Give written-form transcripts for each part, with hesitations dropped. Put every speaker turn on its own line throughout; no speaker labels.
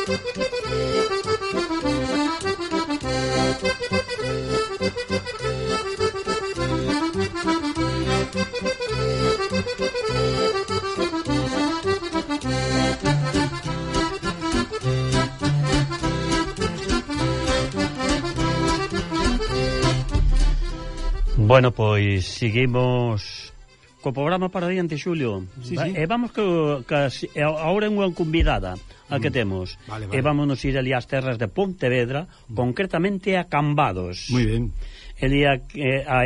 Bueno, pois seguimos co programa para diante, Xulio.
Sí, sí.
E vamos agora unha convidada a que temos.
Vale.
E vámonos ir ali ás terras de Pontevedra, concretamente a Cambados.
Moi ben.
Ali a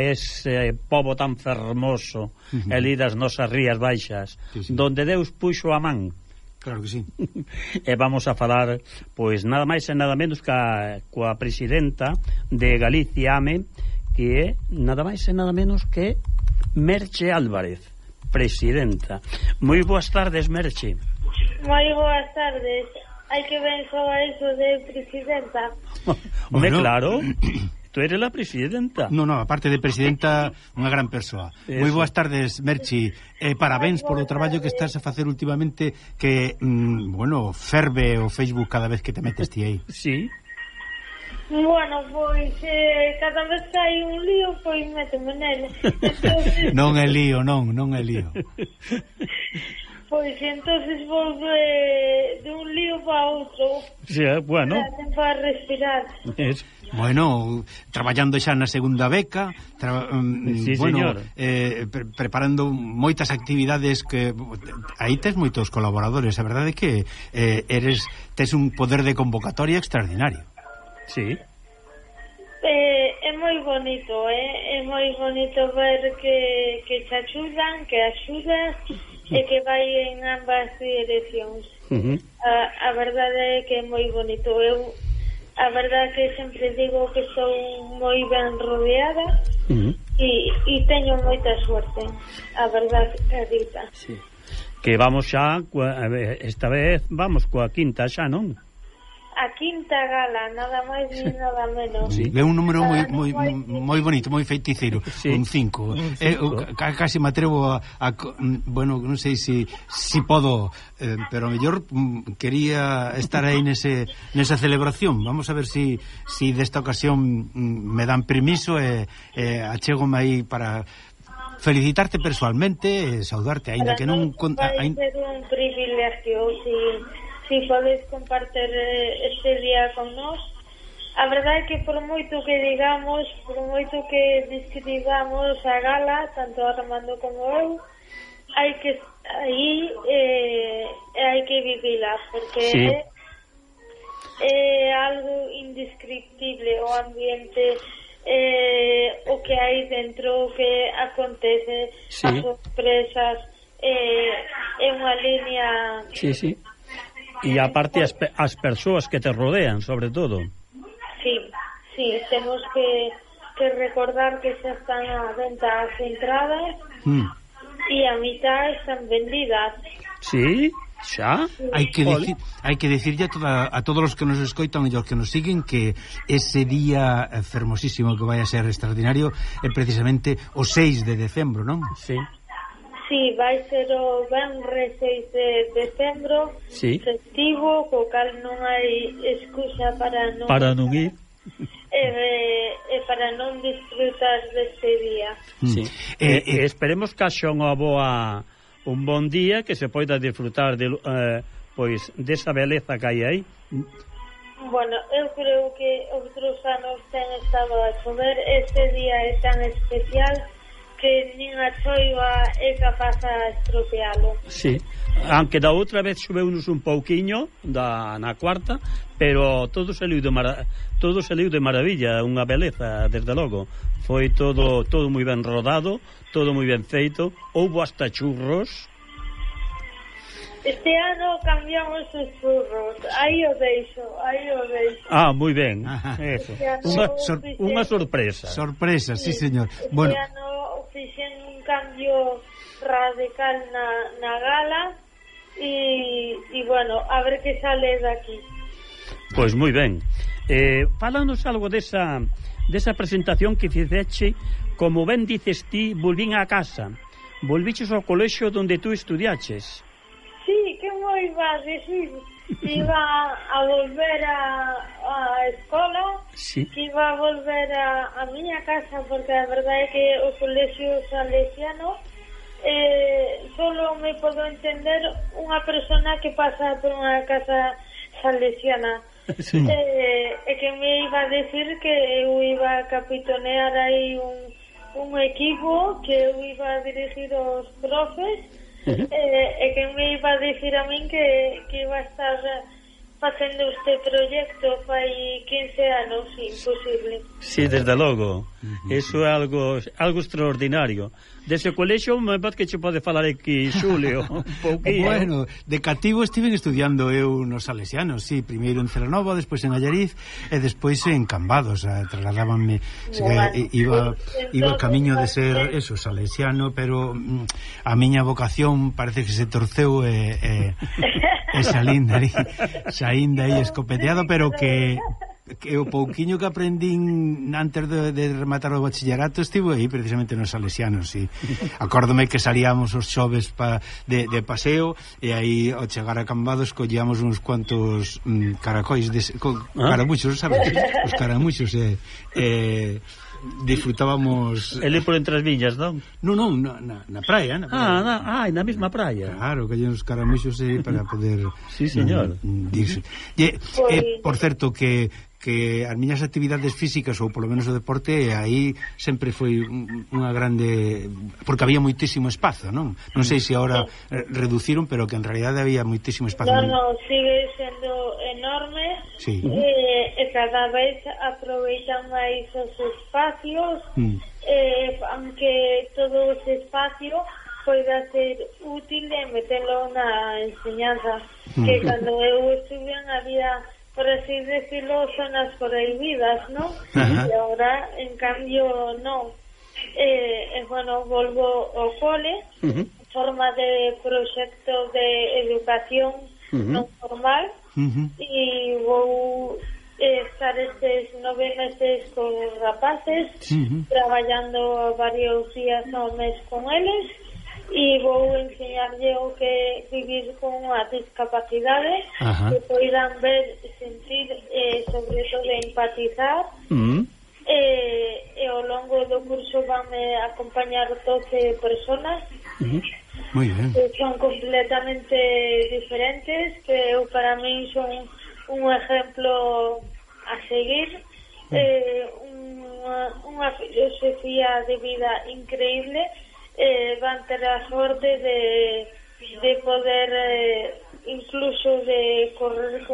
ese pobo tan fermoso, ali das nosas rías baixas,
sí.
donde Deus puxo a man.
Claro que sí.
E vamos a falar, pois, nada máis e nada menos coa presidenta de Galicia AME, que é nada máis e nada menos que Merche Álvarez, presidenta. Moi boas tardes, Merche.
Moi boas tardes. Hai que ben soa iso de presidenta.
Home, claro, tú eres la presidenta.
No, aparte de presidenta, unha gran persoa. Moi boas tardes, Merchi. Parabéns polo traballo que estás a facer últimamente, que, ferve o Facebook cada vez que te metes ti aí.
Sí.
Bueno, pois cada vez que hai un lío, pois méteme nele. Entonces,
Non é lío.
Pois entonces vou de un lío para outro.
Sí, bueno.
Para respirar.
Bueno, traballando xa na segunda beca,
sí, señor.
Preparando moitas actividades que aí tes moitos colaboradores. A verdade é que tes un poder de convocatoria extraordinario.
Sí.
É moi bonito, é moi bonito ver que te axudan, que axudas e que vai en ambas direccións. A verdade é que é moi bonito. Eu, a verdade é que sempre digo que estou moi ben rodeada e teño moita suerte. A verdade é dita.
Sí. Que vamos xa, esta vez vamos coa quinta xa, non?
A quinta gala, nada máis ni nada menos.
Sí. É un número moi bonito, moi feiticeiro, sí. Un 5. Casi me atrevo bueno, non sei se podo, pero a mellor quería estar aí nesa celebración. Vamos a ver se desta ocasión me dan permiso e achégome aí para felicitarte personalmente e saudarte, aínda que non...
Vai ser un privilegio, si podes compartir este día con nós. A verdade é que por moito que digamos, por moito que describamos a gala, tanto Armando como eu, hai que vivila, porque sí. É algo indescriptible o ambiente, o que hai dentro, o que acontece, sí. As sorpresas, é unha línea...
Sí. E aparte as persoas que te rodean, sobre todo.
Sí, temos que recordar que xa están a venta as entradas e a mitad están vendidas.
Sí, xa?
Hai que decirlle a todos os que nos escoitan e os que nos siguen que ese día fermosísimo que vai a ser extraordinario é precisamente o 6 de decembro, non?
Sí.
Sí, vai ser o venres 6 de decembro, sí. Festivo, co cal non hai excusa para non
ir
e para non disfrutar deste día.
Sí. Esperemos que haxa un bon día que se poida disfrutar pois desa beleza que hai aí.
Bueno, eu creo que outros anos ten estado a chover. Este día é tan especial que nin a choiva é capaz a estropealo.
Sí, aunque da outra vez choveunos un pouquiño na cuarta, pero todo saliu de maravilla, unha beleza, desde logo. Foi todo moi ben rodado, todo moi ben feito, houbo hasta churros.
Este ano cambiamos os churros. Aí o deixo.
Ah, moi ben. Eso. Unha sorpresa.
Sorpresa, sí, señor.
Este ano fixen un cambio radical na gala e bueno, a ver que sale daqui.
Pois moi ben. Fálanos algo desa presentación que fixeche. Como ben dices ti, volvín a casa. Volviches ao colexio onde tú estudiaches.
Sí, que moi vas decir. iba a volver a escola,
sí.
Que iba a volver a miña casa, porque a verdade é que o colexio salesiano solo me podo entender unha persona que pasa por unha casa salesiana.
Sí.
E que me iba a decir que eu iba a capitanear aí un equipo, que eu iba a dirigir os profes, e que me iba a decir a min que iba a estar facendo este proxecto fai 15 anos, imposible.
Sí, desde logo. Eso é algo extraordinario. Dese colexio, me parece que che pode falar aquí, Xulio, un pouquinho.
Bueno, de cativo estiven estudiando eu nos salesianos, sí, primeiro en Celanova, despois en Allariz e despois en Cambados, trasladábanme, iba camiño de ser eso, salesiano, pero a miña vocación parece que se torceu e saínda aí escopeteado, pero que o pouquiño que aprendín antes de rematar o bachillerato estivo aí precisamente nos salesianos, sí. Acórdome que salíamos os xoves de paseo e aí ao chegar a Cambados collíamos uns cuantos caracois caramuxos, sabes? Os caramuxos disfrutábamos.
Ele por entre as viñas, non?
Non, na praia,
na mesma praia.
Claro, collían os caramuxos para poder.
Sí, señor.
Dirse. Por certo que as miñas actividades físicas ou polo menos o deporte aí sempre foi unha grande, porque había moitísimo espazo, non sei se agora reduciron, pero que en realidad había moitísimo espazo.
No, sigue sendo enorme, sí. E cada vez aproveitan máis os espacios, aunque todo ese espacio poida ser útil e metelo na enseñanza, que cando eu estuve había, por así decirlo, zonas prohibidas, ¿no? Y ahora, en cambio, no. Bueno, volvo ao cole, forma de proxecto de educación non formal, e vou estar estes 9 meses con rapaces, traballando varios días ao mes con eles, e vou enseñarlle o que vivir con unha discapacidade, que poidan ver, sentir, sobre todo empatizar, e ao longo do curso vanme acompañar 12 personas,
muy bien,
que son completamente diferentes, que eu para min son un ejemplo a seguir, unha filosofía de vida increíble. Van ter a sorte de poder incluso de correr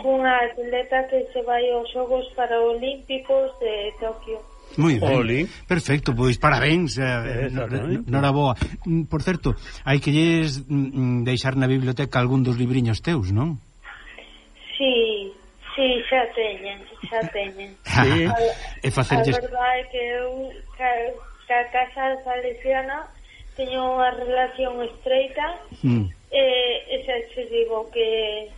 cunha atleta que se vai aos Xogos Paralímpicos de Tokio.
Moi ben, perfecto, pois parabéns, noraboa. Por certo, hai que lles deixar na biblioteca algún dos libriños teus, non?
Sí, xa teñen.
Sí.
A verdade é que eu a casa salesiana teño unha relación estreita, e xa te digo que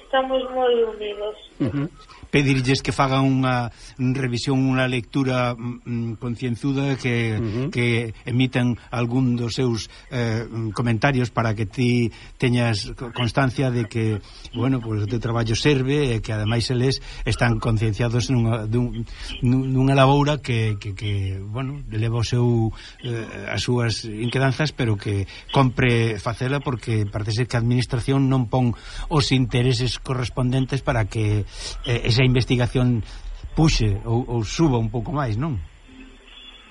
estamos moi unidos.
Pedirlles que fagan unha revisión, unha lectura concienzuda, que emitan algún dos seus comentarios para que ti teñas constancia de que, bueno, pues o teu traballo serve e que ademais eles están concienciados nunha laboura que bueno, leva o seu as súas inquedanzas, pero que compre facela, porque parece ser que a administración non pon os intereses correspondentes para que esa investigación puxe ou suba un pouco máis, non?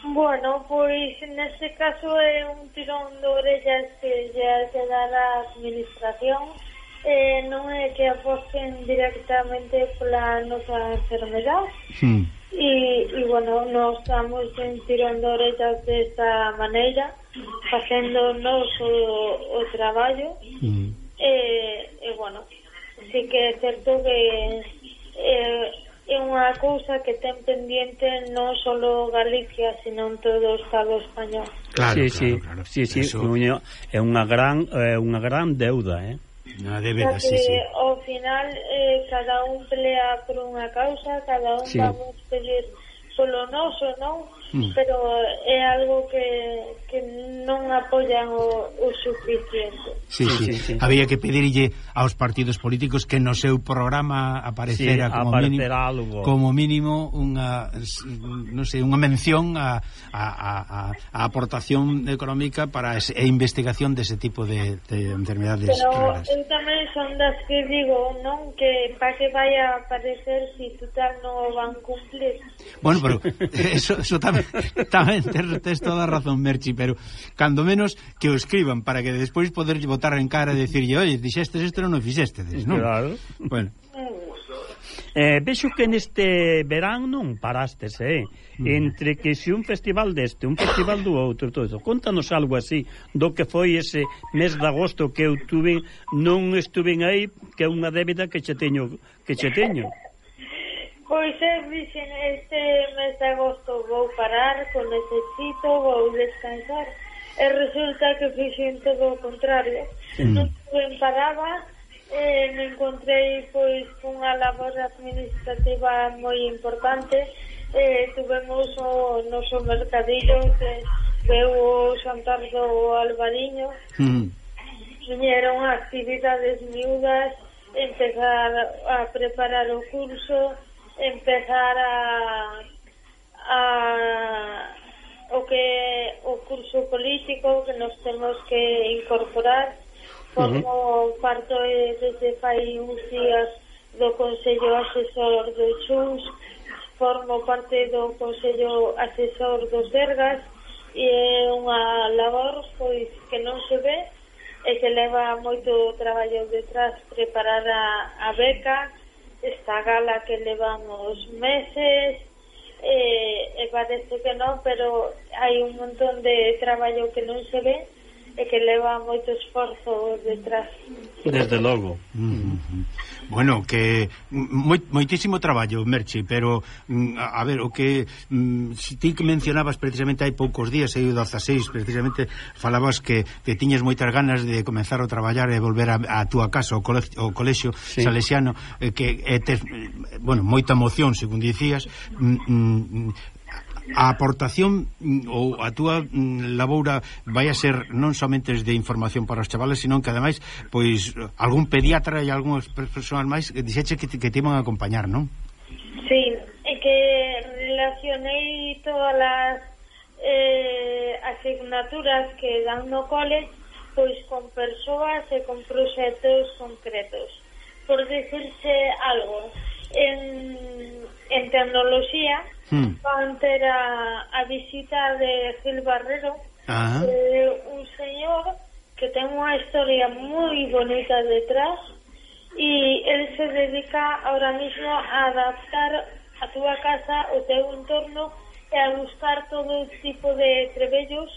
Bueno, pois neste caso é un tirón de orellas que lle que dar a administración, non é que aposten directamente pola nosa enfermedade, e bueno, nos damos un tirón de orellas desta maneira, facendo nos o traballo, e bueno, sí que é certo que é unha cousa que ten pendiente non só Galicia, sino en todo o Estado español.
Claro. É unha gran deuda,
Unha débeda, sí.
Ao final cada un pelea por unha causa, cada un vamos pedir polo noso, non? pero é algo que non apoian o suficiente.
Sí. Había que pedirlle aos partidos políticos que no seu programa aparecera como mínimo unha, non sei, unha mención a aportación económica para a investigación dese tipo de enfermedades raras.
Pero eu tamén son das que digo, non, que para que vai a aparecer si total non o van cumplir.
Bueno, pero eso tamén tes toda a razón, Merchi, pero cando menos que o escriban para que despois poder botar en cara e dicirlle, oye, dixestes isto non o fixestedes, non?
Claro.
Bueno.
Vexo que neste verán non parastes, entre que se un festival deste, un festival do outro, todo eso. Contanos algo así do que foi ese mes de agosto que eu non estuve aí, que é unha débeda que che teño.
Pois dixen, este mes de agosto vou parar, con necesito, vou descansar, e resulta que fixen todo o contrario. Non estuve parada, me encontrei pois cunha labor administrativa moi importante. Tuvemos o noso mercadillo que veu o xantar do Albariño. Viñeron actividades miúdas, empezar a preparar o curso, empezar o curso político que nos temos que incorporar. Formo parte desde fai uns días do Consello Asesor do Chus, formo parte do Consello Asesor dos Sergas, e é unha labor pois que non se ve e que leva moito traballo detrás preparar a beca, esta gala que levamos meses, e parece que non, pero hai un montón de traballo que non se ve e que leva moito esforzo detrás.
Desde logo.
Bueno, que moitísimo traballo, Merchi, pero a ver, o que ti que mencionabas precisamente hai poucos días, aí o 16, precisamente falabas que tiñas moitas ganas de comenzar a traballar e volver a túa casa, o colexio salesiano, que tes, bueno, moita emoción, según dicías. A aportación ou a túa laboura vai a ser non somente de información para os chavales, sino que ademais pois algún pediatra e algúns persoas máis dixeche que te iban a acompañar, non?
Sí, é que relacionei todas as asignaturas que dan no cole pois con persoas e con proxectos concretos. Por decirse algo, en tecnoloxía van ter a visita de Gil Barrero, un señor que ten unha historia moi bonita detrás, e el se dedica ahora mismo a adaptar a túa casa, o teu entorno, e a buscar todo tipo de trebellos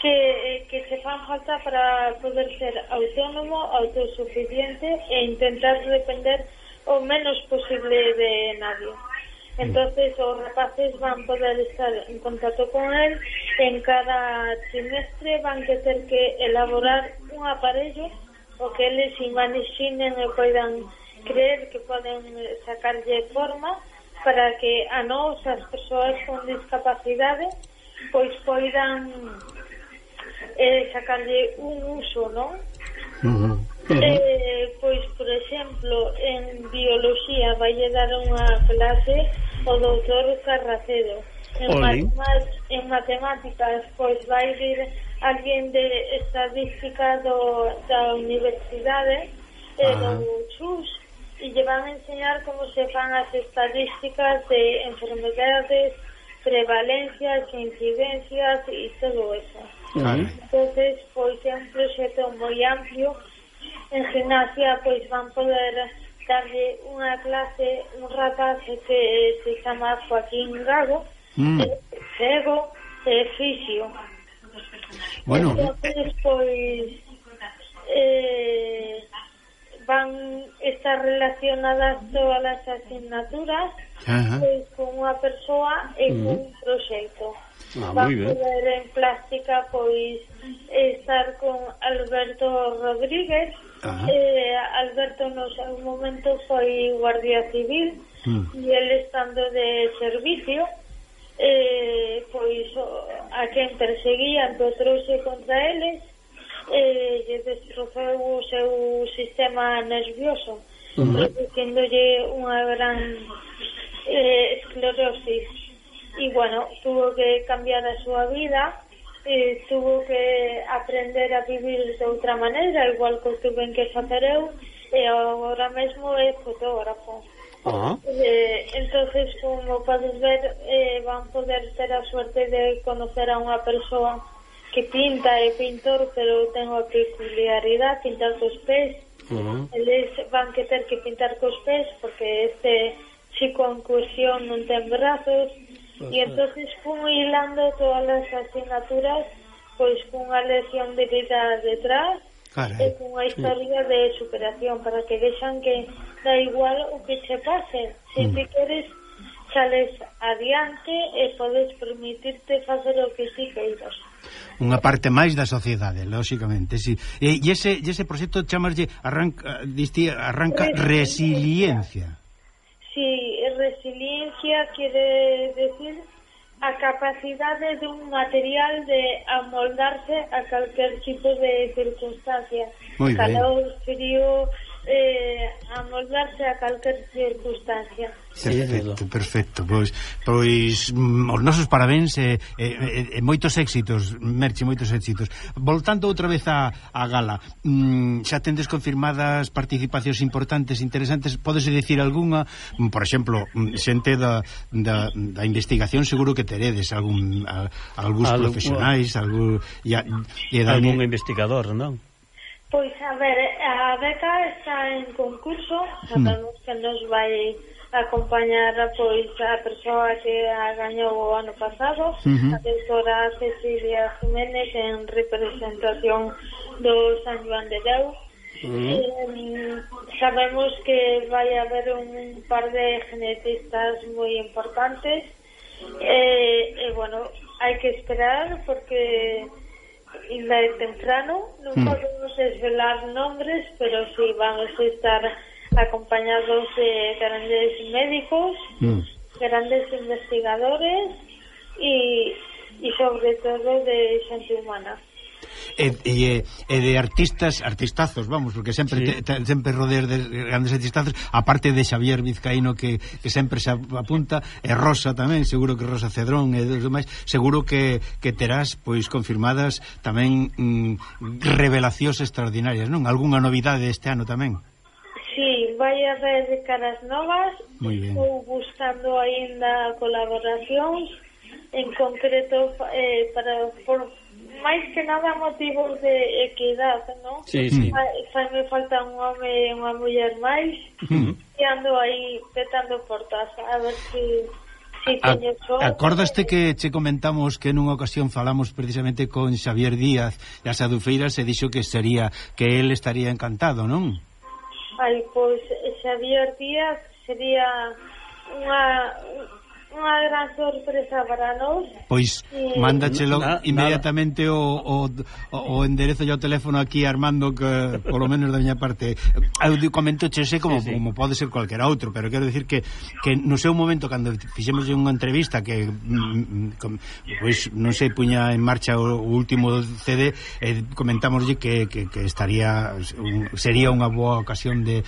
que se fan falta para poder ser autónomo, autosuficiente e intentar depender o menos posible de nadie. Entonces os rapaces van poder estar en contacto con él, en cada trimestre van que ter que elaborar un aparello o que eles imaginen e poidan creer que poden sacarlle forma para que a nós, as persoas con discapacidade, pois poidan sacarlle un uso, non? Pois, por exemplo, en biología vai dar unha clase o doutor Carracedo. En matemáticas, pois vai vir alguén de estadística da universidade do Chus, e lle van a enseñar como se fan as estadísticas de enfermedades, prevalencias, incidencias e todo eso. Entonces, pois é un proxecto moi amplio. En gimnasia, pois van poder darlle unha clase, un rapaz que se chama Joaquín Gago, cego e fisio.
Bueno,
entonces, pois van estar relacionadas todas as asignaturas pois con unha persoa e con un proxecto. Van poder en plástica pois estar con Alberto Rodríguez. Alberto no seu momento foi guardia civil e ele estando de servicio, pois a quen perseguían trouse contra eles, lle destrozou o seu sistema nervioso, produciéndolle unha gran esclerosis, e bueno, tuvo que cambiar a súa vida, tuvo que aprender a vivir de outra maneira, igual que tuve que facer eu, e agora mesmo é fotógrafo. Entonces, como podes ver, van poder ter a suerte de conocer a unha persoa que pinta, é pintor, pero ten a peculiaridade pintar cos pés. Eles van que ter que pintar cos pés porque este chico en cuestión non ten brazos, e entonces fun hilando todas as asignaturas pois cunha lección de vida detrás e cunha historia de superación para que vexan que da igual o que che pase, se ti queres sales adiante e podes permitirte facer o que ti queiras.
Unha parte máis da sociedade, lóxicamente, sí. E ese proxecto chamaslle arranca resiliencia.
Sí, resiliencia quere decir a capacidade dun material de amoldarse a calquer tipo de circunstancia. Calor, frío, amoldarse a calquer circunstancia.
Perfecto. Pois os nosos parabéns e moitos éxitos, Merche, moitos éxitos. Voltando outra vez á gala, xa tendes confirmadas participacións importantes, interesantes, pódese dicir algunha, por exemplo, xente da investigación, seguro que teredes algúns profesionais, algún
investigador, non?
Pois, a ver, a beca está en concurso, sabemos que nos vai acompañar pois a persoa que a gañou o ano pasado, a doutora Cecilia Jiménez, en representación do San Joan de Deus. Sabemos que vai haber un par de genetistas moi importantes, e bueno, hai que esperar porque ainda é temprano, non podemos desvelar nombres, pero sí vamos a estar acompañados de grandes médicos, grandes investigadores e sobre todo de xente humana.
E de artistazos, vamos, porque sempre rodeas de grandes artistazos, aparte de Xavier Vizcaíno que sempre se apunta, e Rosa tamén, seguro que Rosa Cedrón e dos demais, seguro que terás pois confirmadas tamén revelacións extraordinarias, non? Algúnha novidade este ano tamén?
Sí, vai haber caras novas. Estou buscando aínda colaboracións, en concreto por máis que nada motivos de equidade, non?
Sí.
Me falta un home e unha muller máis, e ando aí petando portas a ver si teño só.
Acordaste que che comentamos que nunha ocasión falamos precisamente con Xavier Díaz das Adufeiras e dixo que él estaría encantado, non?
Pois Xavier Díaz sería unha gran sorpresa para nós.
Pois mándachelo inmediatamente o enderezo e o teléfono aquí a Armando, que polo menos da miña parte eu comento che como pode ser cualquiera outro, pero quero decir que no seu momento, cando fixemos unha entrevista que pois non sei, puña en marcha o último CD, comentámoslle que sería unha boa ocasión de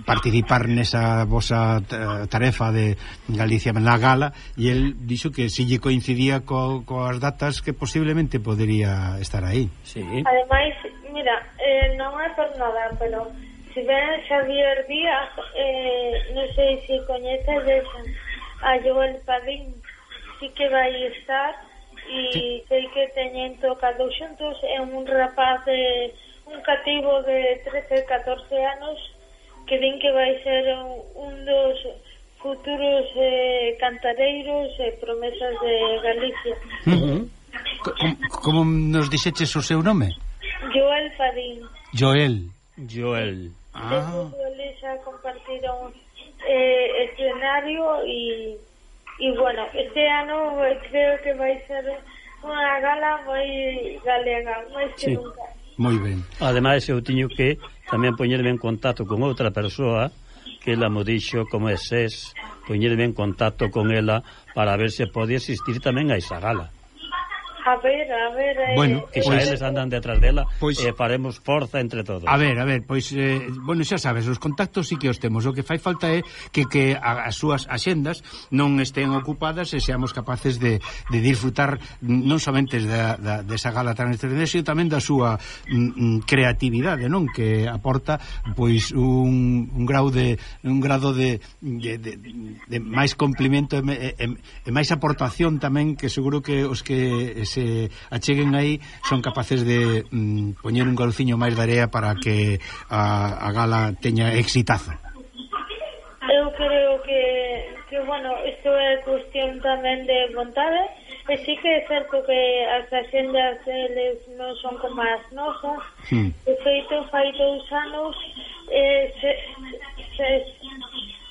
participar nesa vosa tarefa de Galicia na gala, e el dixo que si lle coincidía coas datas que posiblemente podería estar aí.
Ademais, mira, non é por nada, pero se ven Xavier Díaz, non sei se coñeces a Joel Padín, sí que vai estar, e sei que teñen tocado xuntos. É un rapaz un cativo de 13-14 anos que din que vai ser un dos futuros cantareiros e promesas de Galicia.
Como nos dixeches o seu nome?
Joel Padín.
Joel.
Eles xa compartiron escenario e bueno, este ano creo que vai ser unha gala moi galega, máis que nunca.
Moi ben.
Ademais, eu tiño que tamén poñerme en contacto con outra persoa que ela mo dixo como eses poñerme en contacto con ela para ver se pode asistir tamén a esa gala.
A ver,
bueno,
que xa eles andan detrás dela, faremos forza entre todos.
A ver, pois, bueno, xa sabes, os contactos sí que os temos. O que fai falta é que as súas axendas non estén ocupadas e seamos capaces de disfrutar non somente desa gala tan extraordinaria, sino tamén da súa creatividade, non? Que aporta, pois, un grado de máis complemento e máis aportación tamén, que seguro que os que se acheguen aí son capaces de poñer un golciño máis de area para que a gala teña exitazo.
Eu creo que bueno, isto é cuestión tamén de vontade, e sí que é certo que as axendas eles non son como as nosas. De feito, fai 2 anos se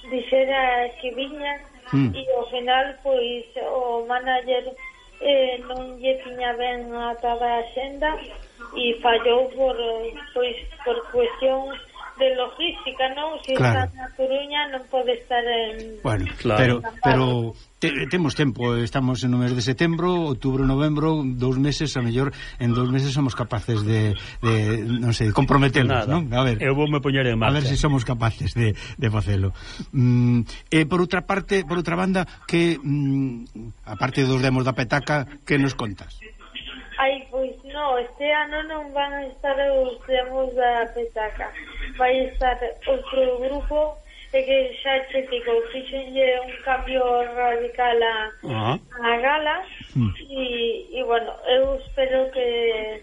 dixera que viña e ao final, pois, o manager non lle tiña ben atada a axenda e fallou por cuestión de logística, non? Se claro. Está na Coruña non pode estar en...
Bueno, claro. pero temos tempo, estamos no mes de setembro, outubro, novembro, 2 meses, a mellor en 2 meses somos capaces de non sei, comprometernos, non? A ver,
eu vou me poñer en marcha.
A ver se somos capaces de facelo. Por outra parte, por outra banda, que aparte dos demos da petaca, que nos contas?
Ai, pois non, este ano non van a estar os demos da petaca. Vai estar outro grupo que xa che digo, fixenlle un cambio radical a gala e bueno, eu espero que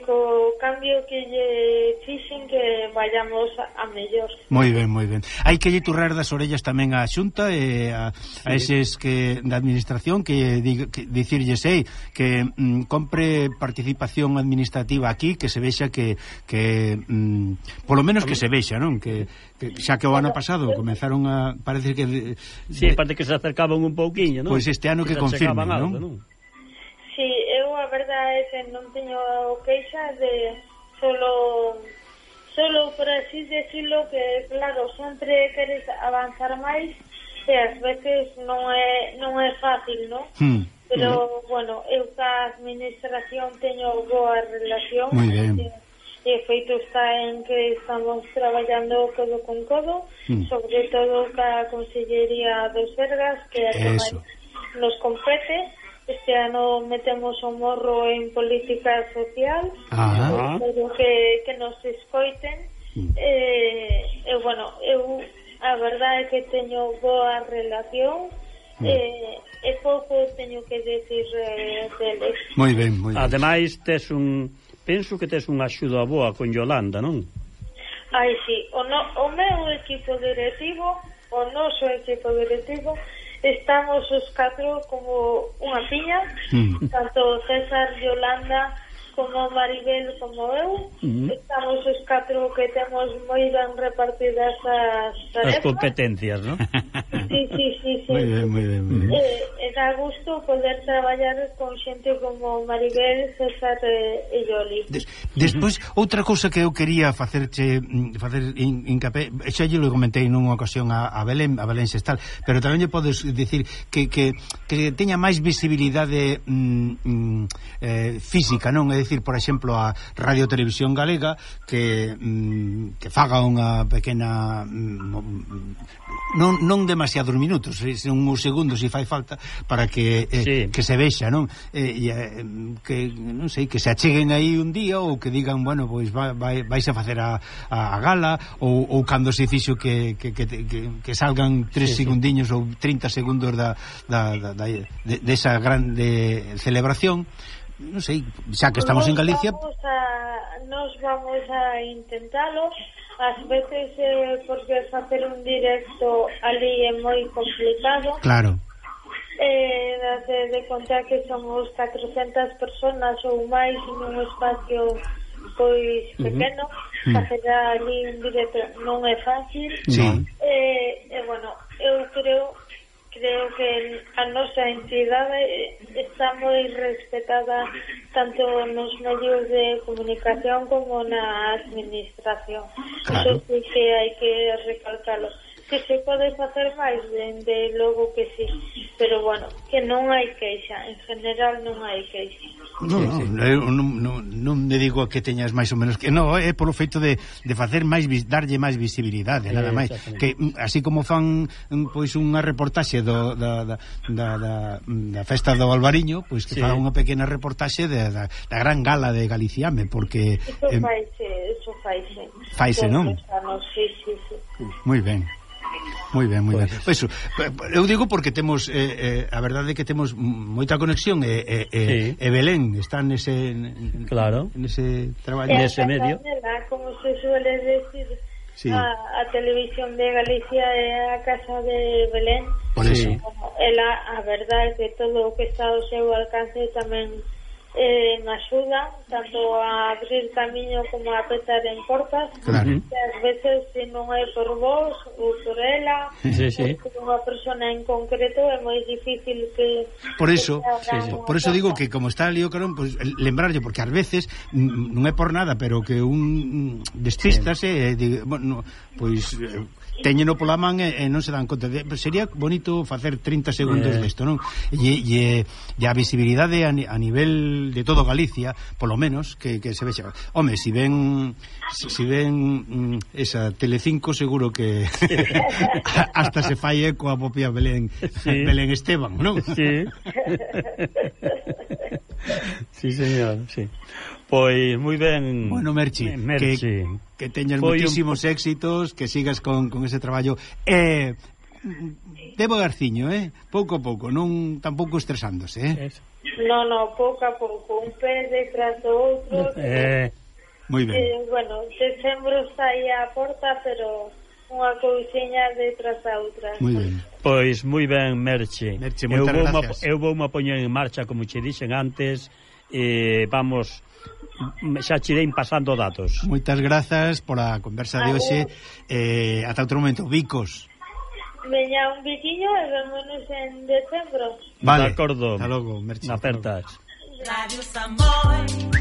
co cambio que lle fixen que vayamos a mellor.
Moi ben. Hai que lle turrar das orellas tamén á Xunta e a eses que da administración que dicirlles que compre participación administrativa aquí, que se vexa que polo menos que se vexa, non? Que xa que o ano pasado comenzaron a parece que
parece que se acercaban un pouquiño, non?
Pois este ano que confirmen, non?
Sí, eu a verdade é que non teño queixa de solo por así decirlo, que claro, sempre queres avanzar máis e ás veces non é fácil, non? Pero, bueno, eu ca administración teño boa relación.
Moi ben.
E feito está en que estamos traballando codo con codo, sobre todo ca Consellería do Sergas, que é a que máis nos compete. Este ano metemos o morro en política social, pero que nos escoiten. Bueno, eu a verdade é que teño boa relación e pouco teño que decir deles.
Moi ben.
Ademais, penso que tes unha axuda boa con Yolanda, non?
Ai, sí, o meu equipo directivo, o noso equipo directivo, estamos os 4 como unha piña, tanto César, Yolanda, como Maribel, como eu. Estamos os 4 que temos moi ben repartidas as tarefas.
As competencias, non?
Sí.
Moi ben.
Dá gusto poder traballar con xente como Maribel, César e Yoli.
Despois, outra cousa que eu quería facer hincapé, xa lle lo comentei nunha ocasión a Belén Sestal, pero tamén lle podes dicir que teña máis visibilidade física, non? É dicir, por exemplo, a Radio Televisión Galega que faga unha pequena non demasiados minutos, son uns segundos se fai falta para que se vexa, non? Que non sei, que se acheguen aí un día ou que digan, bueno, pois vais a facer a gala ou cando se fixo que salgan 3 segundiños ou 30 segundos desa grande celebración. Non sei, xa que estamos en Galicia,
nos vamos a intentalo. Ás veces porque facer un directo ali é moi complicado.
Claro.
De contar que somos 400 personas ou máis nun espacio pois pequeno, facer ali un directo non é fácil.
Sí.
Bueno, eu creo creo que a nosa entidade está moi respetada tanto nos medios de comunicación como na administración. Claro. Eso sí que hai que recalcalo. Que se pode facer máis, de logo que sí, pero bueno, que non hai queixa, en general non hai queixa.
Non me digo que teñas máis ou menos que non, é polo feito de facer máis, darlle máis visibilidade, nada máis, que así como fan pois unha reportaxe da festa do Albariño, pois que fan unha pequena reportaxe da gran gala de Galiciame, porque
eso faise,
non?
Sí.
Moi ben. Moi ben. Pois eu digo porque temos a verdade é que temos moita conexión e Belén está nese traballo,
nese medio. Como se suele decir, a televisión de Galicia é a casa de Belén.
Por eso.
Ela, a verdade é que todo o que está ao seu alcance tamén me axuda tanto a abrir camiño como a petar en portas.
Claro.
Que ás veces se non é por vos ou por ela por unha persona en concreto é moi difícil que
por eso digo que como está ali o carón, pues, lembrarlle, porque ás veces non é por nada, pero que un despístase bueno, pois teñeno pola man e non se dan conta sería bonito facer 30 segundos desto, non? E a visibilidade a nivel de todo Galicia, polo menos que se vexa. Home, si ven esa Telecinco seguro que hasta se fai eco a propia Belén Esteban, non?
Sí, señor, sí. Pois moi ben.
Bueno, Merchi. Que teñas moitísimos éxitos, que sigas con ese traballo devagarciño, pouco a pouco, non tampouco estresándose,
No, pouco a pouco, un pé detrás do outro.
Moi ben.
Bueno, decembro está aí a porta, pero unha cousiña detrás da outra.
Moi ben.
Pois moi ben, Merche,
moitas gracias.
Eu voume a poñer en marcha, como che dixen antes, vamos, xa che irei pasando datos.
Moitas grazas por a conversa de hoxe. Ata outro momento, bicos.
Veña un biquiño e vémonos en decembro.
Vale,
de acordo.
Hasta logo, Merche.
Apertas.
Radio Samboy.